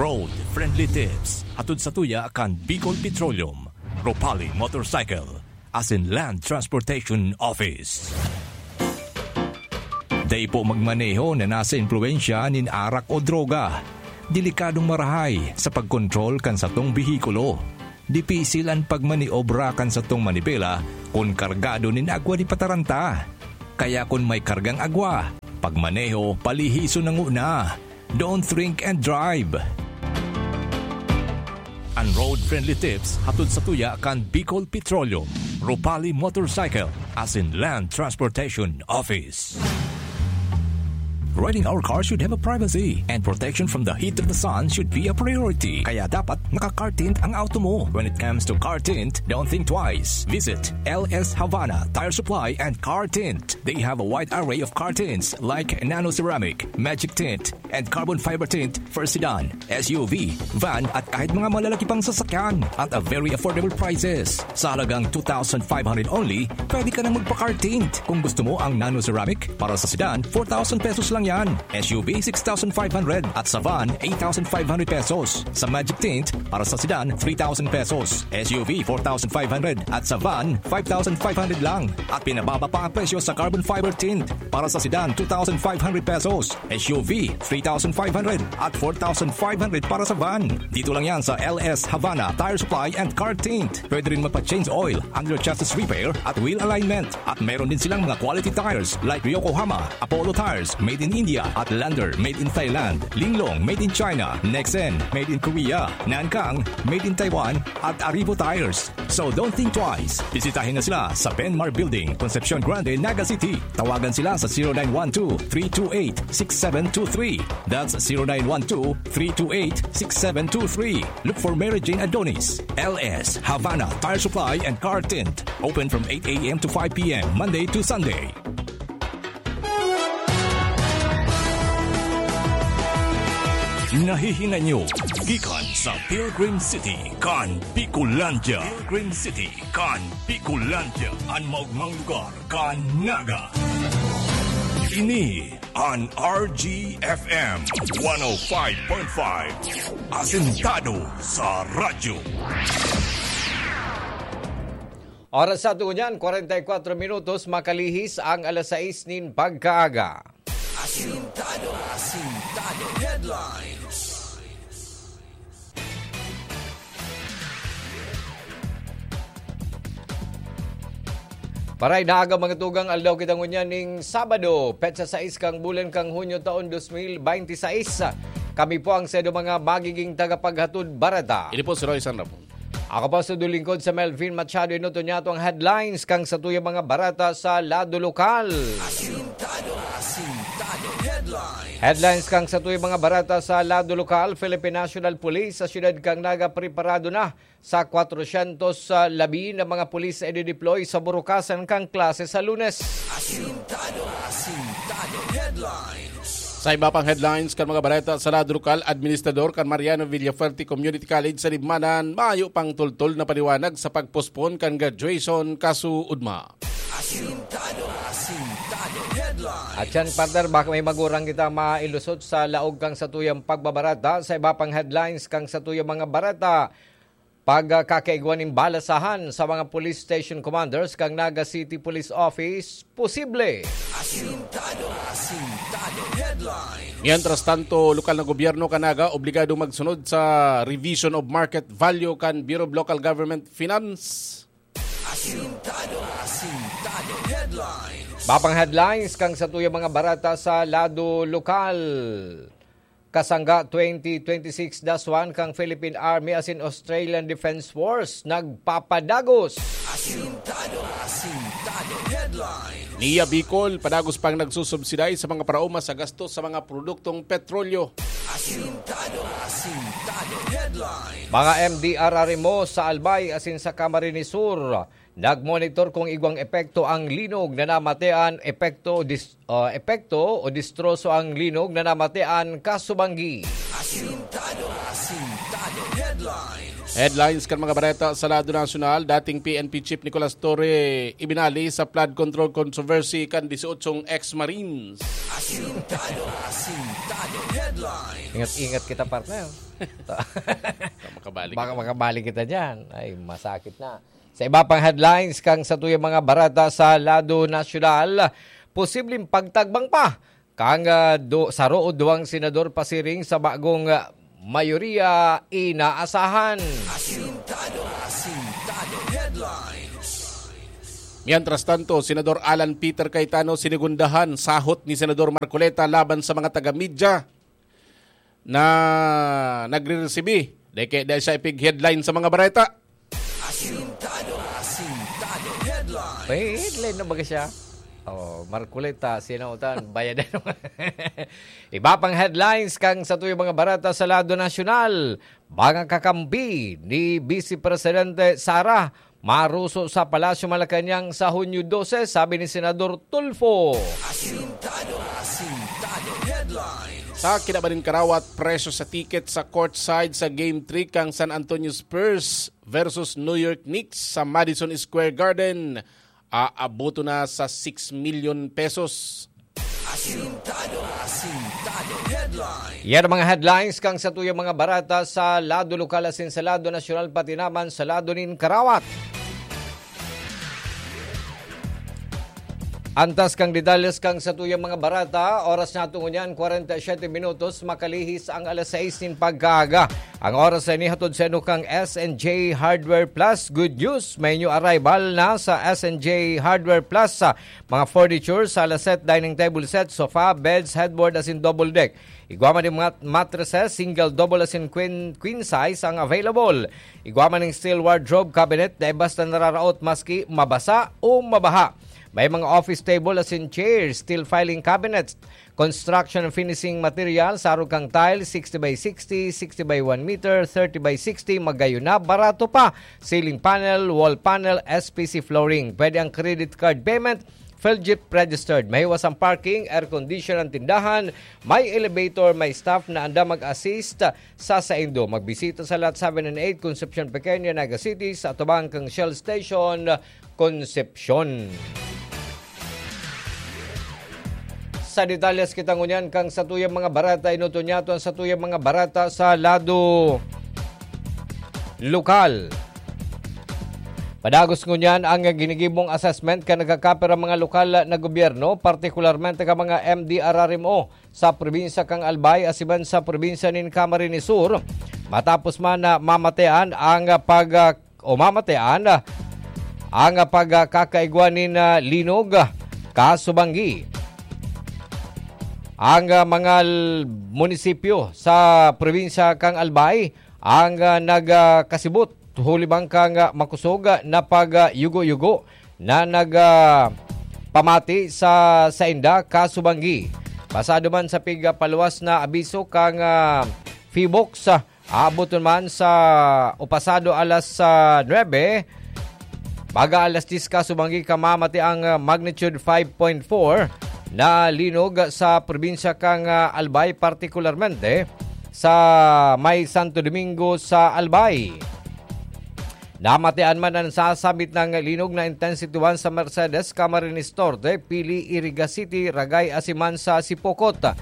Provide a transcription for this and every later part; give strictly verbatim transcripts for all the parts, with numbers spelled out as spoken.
Road Friendly Tips, hatod sa tuya kan Bicol Petroleum, Ropali Motorcycle, asin Land Transportation Office. Dai po magmaneho na nasa impluwensya nin arak o droga. Delikadong marahay sa pagkontrol kan satong behikulo. Dipisil an pagmaniobra kan satong manibela kun kargado nin agwa di pataranta. Kaya kun may kargang agwa, pagmaneho, palihison na nguna. Don't drink and drive. An road-friendly tips hatod sa tuya kan Bicol Petroleum, Ropali Motorcycle, asin Land Transportation Office. Riding our car should have a privacy, and protection from the heat of the sun should be a priority. Kaya dapat naka-car tint ang auto mo. When it comes to car tint, don't think twice. Visit L S Havana Tire Supply and Car Tint. They have a wide array of car tints like nano ceramic, magic tint, and carbon fiber tint for sedan, S U V, van at kahit mga malalaki pang sasakyan at a very affordable prices. Sa halagang two thousand five hundred only, pwede ka nang magpa-car tint. Kung gusto mo ang nano ceramic, para sa sedan, four thousand pesos lang yan. S U V, six thousand five hundred at sa van, eight thousand five hundred pesos. Sa magic tint, para sa sedan, three thousand pesos. S U V, four thousand five hundred at sa van, five thousand five hundred lang. At pinababa pa ang presyo sa carbon fiber tint. Para sa sedan, two thousand five hundred pesos. S U V, three thousand five hundred at four thousand five hundred para sa van. Dito lang yan sa L S Havana Tire Supply and Car Tint. Pwede rin magpa-change oil, under chassis repair at wheel alignment. At meron din silang mga quality tires like Yokohama, Apollo Tires, made in India, at Lander, made in Thailand, Linglong, made in China, Nexen, made in Korea, Nankang, made in Taiwan, at Arrivo Tires. So don't think twice. Bisitahin na sila sa Benmar Building, Concepcion Grande, Naga City. Tawagan sila sa zero nine one two, three two eight, six seven two three. That's zero nine one two, three two eight, six seven two three. Look for Mary Jane Adonis, L S Havana Tire Supply and Car Tint. Open from eight a.m. to five p.m., Monday to Sunday. Nahihinay nyo gikan sa Pilgrim City kan Bicolandia. Pilgrim City kan Bicolandia, an maogmang lugar kan Naga. Ini an R G F M one oh five point five, asentado sa radyo. Oras sa ato ngunyan, kwarenta y kwatro minutos, makalihis ang alas sais nin pagkaaga. Asintado, asintado headlines. Maray na aga, mga tugang, aldaw kita ngunyan ning Sabado, petsa sais kan bulan kan Hunyo, taon dos mil bente sais. Kami po ang saindo mga magiging tagapaghatod bareta. Ini po si Roy Sanrapon. Ako po sa lingkod, si Melvin Machado. Enoton niyato an headlines kan satuyang mga bareta sa lado lokal. Asintado, asintado headlines. Headlines kan satuyang mga bareta sa lado lokal. Philippine National Police sa siyudad kan Naga preparado na sa kwatrosyentos labi na mga pulis na i-deploy sa burukasan kan klase sa Lunes. Asintado, asintado headlines. Sa iba pang headlines kan mga bareta sa lado lokal, administrador kan Mariano Villafuerte Community College sa Libmanan, mayo pang tultol na paliwanag sa pag-postpone kan graduation kasuodma. Asintado, asintado headlines. At yan, partner, baka may magurang kita mailusot sa laog kan satuyang pagbabareta. Sa iba pang headlines kan satuyang mga bareta, pagkakaigwa nin balasahan sa mga police station commanders kan Naga City Police Office, posible. Asintado, asintado headlines. Mientras tanto, lokal na gobyerno kan Naga obligado magsunod sa revision of market value kan Bureau of Local Government Finance. Asintado, asintado headlines. Iba pang headlines kan satuyang mga bareta sa lado lokal. Kasangga twenty twenty-six dash one kan Philippine Army asin Australian Defence Force nagpapadagos. Asintado, asintado headlines. Nia Bicol, padagos pang nagsusubsiday sa mga paraoma sa gastos sa mga produktong petrolyo. Asintado, asintado headlines. Mga M D R R M O sa Albay asin sa Camarines Sur nagmonitor kung igwang epekto ang linog na namatian, epekto o dis-, ah, epekto o distroso ang linog na namatian kasubanggi. Asintado, asintado headlines. Headlines kan mga bareta sa lado nasyonal, dating P N P Chief Nicolas Torre ibinali sa flood control controversy kan disyotsyong ex-Marines. Asintado, asintado, headline. Ingat-ingat kita, partner. Makabalik. Baka makabalik kita dyan. Ay, masakit na. Sa iba pang headlines, kang sa tuyang mga barata sa lado nasyonal, posibleng pagtagbang pa kang ah, do, saro o duwang senador pasiring sa bagong ah, mayoriya inaasahan. Asintado, asintado, headlines. Mientras tanto, Senador Alan Peter Cayetano sinigundahan sahot ni Senador Marcoleta laban sa mga taga-media na nagre-resibi. Dahil kaya dahil siya ipig-headline sa mga bareta. Asintado, asintado, headline. May headline na baga siya? Oh, Marcoleta, sinautan, bayadan. Iba pang headlines kang sa tuyang mga barata sa lado nasyonal. Mga kakampi ni Vice Presidente Sara maruso sa Palasyo Malacañang sa Hunyo dose, sabi ni Senador Tulfo. Asintado, asintado, headlines. Sa kinabaning karawat, presyo sa ticket sa courtside sa Game three kang San Antonio Spurs versus New York Knicks sa Madison Square Garden, aaboto na sa six million pesos. Asintado, asintado, headline. Yan ang mga headlines kang sa tuyang mga barata sa lado lokal asin sa lado nasyonal, pati naman sa lado nin karawat. Antas kang detalles kang sa tuyang mga barata, oras nato ngunyan, kwarenta y siyete minutos, makalihis ang alas sais nin pagkaaga. Ang oras na inihatod sa inyo kang S N J Hardware Plus. Good news, may new arrival na sa S N J Hardware Plus sa mga furniture, sala set, dining table set, sofa, beds, headboard, asin double deck. Igwa man yung mat- mattresses, single, double, asin queen, queen size ang available. Igwa man yung steel wardrobe cabinet, dai basta nararaot maski mabasa o mabaha. May mga office table asin chairs, steel filing cabinets, construction and finishing materials, arog kang tile, sixty by sixty, sixty by one meter, thirty by sixty, magayon na, barato pa. Ceiling panel, wall panel, S P C flooring. Pwede ang credit card payment, Felgip registered. Mahiwas ang parking, air condition ang tindahan, may elevator, may staff na andam mag-assist sa saindo. Magbisita sa Lot seven and eight, Concepcion Pequeña, Naga City, sa atubang kang Shell Station, Concepcion. Sa detalyes kita ngunyan kang sa tuyang mga barata, inuton niya to ang sa tuyang mga barata sa lado lokal. Padagos ngunyan ang ginigibong assessment kan nagkakapira mga lokal na gobyerno, partikularmente ka mga M D R R M O sa probinsya kang Albay asiman sa probinsya nin Camarines Sur. Matapos man na mamatean ang pag o mamatean ang pagkakaigwa nin ah, linog, ah, kasubanggi. Ang ah, mga l- munisipyo sa probinsya kang Albay ang ah, nagkasibot huli bang kang ah, makosog na pagyugo-yugo na nagpamati sa sainda kasubanggi. Pasado man sa pigpaluwas na abiso kang ah, Phivolcs, ah, aaboton man sa o pasado alas ah, nuebe, baga alas diyes kasubanggi kamamati ang ah, magnitude five point four na linog sa probinsya kang ah, Albay, partikularmente sa may Santo Domingo sa Albay. Namatean man ang sasabit ng linog na intensity one sa Mercedes, Camarines Norte, Pili, Iriga City, Ragay, asiman sa Sipocot.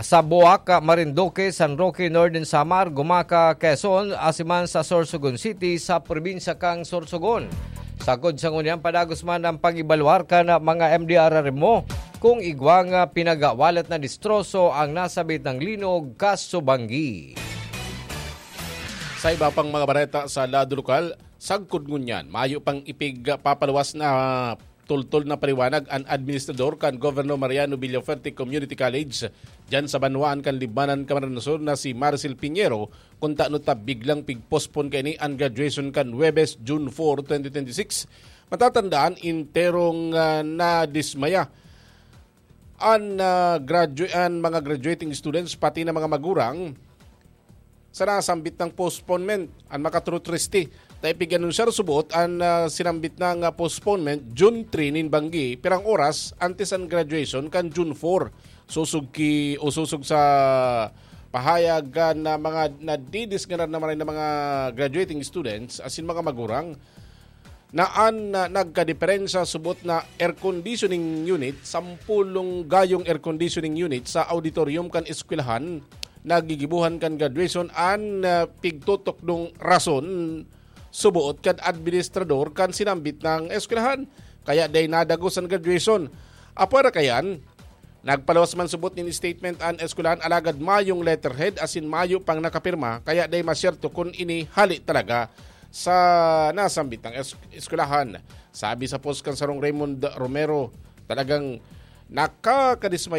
Sa Buac, Marinduque, San Roque, Northern Samar, Gumaca, Quezon, asiman sa Sorsogon City, sa probinsya kang Sorsogon. Sagkod sa ngunyan, padagos man ang pag-ibaluar kan mga M D R R M O kung igwang pinagawalat na distroso ang nasabit ng linog kasubanggi. Sa iba pang mga bareta sa lado lokal, sagkod ngunyan, mayo pang ipigpapaluwas na tultol na paliwanag an administrador kan Governor Mariano Villafuerte Community College diyan sa banwaan kan Libmanan, Camarines Sur na si Maricel Piñero, kung tano ta biglang pigpospon kaini an graduation kan Huwebes, June four, twenty twenty-six. Matatandaan, enterong ah, nadismaya an ah, gradu- an mga graduating students pati na mga magurang sa nasambit ng postponement. An makatrutriste, ta ipig-anunsiyar subot an ah, sinambit na nga postponement June three nin banggi, pirang oras antes an graduation kan June four. Susog ki o susog sa pahayag kan, ah, mga nadidisganar na maray na mga graduating students asin mga magurang na an, ah, nagkadiperensya subot na air conditioning unit, sampolong gayong air conditioning unit sa auditorium kan eskwelahan nagigibohan kan graduation an, ah, pigtutokdong rason suboot kan administrador kan sinambit na eskwelahan, kaya dai nadagos an graduation. Apwera kayan, nagpaluwas man subot nin statement an eskwelahan alagad mayong letterhead asin mayo pang nakapirma, kaya dai masyerto kun ini hali talaga sa nasambit na es-, eskwelahan. Sabi sa post kan sarong Raymond Romero, talagang nakakadismaya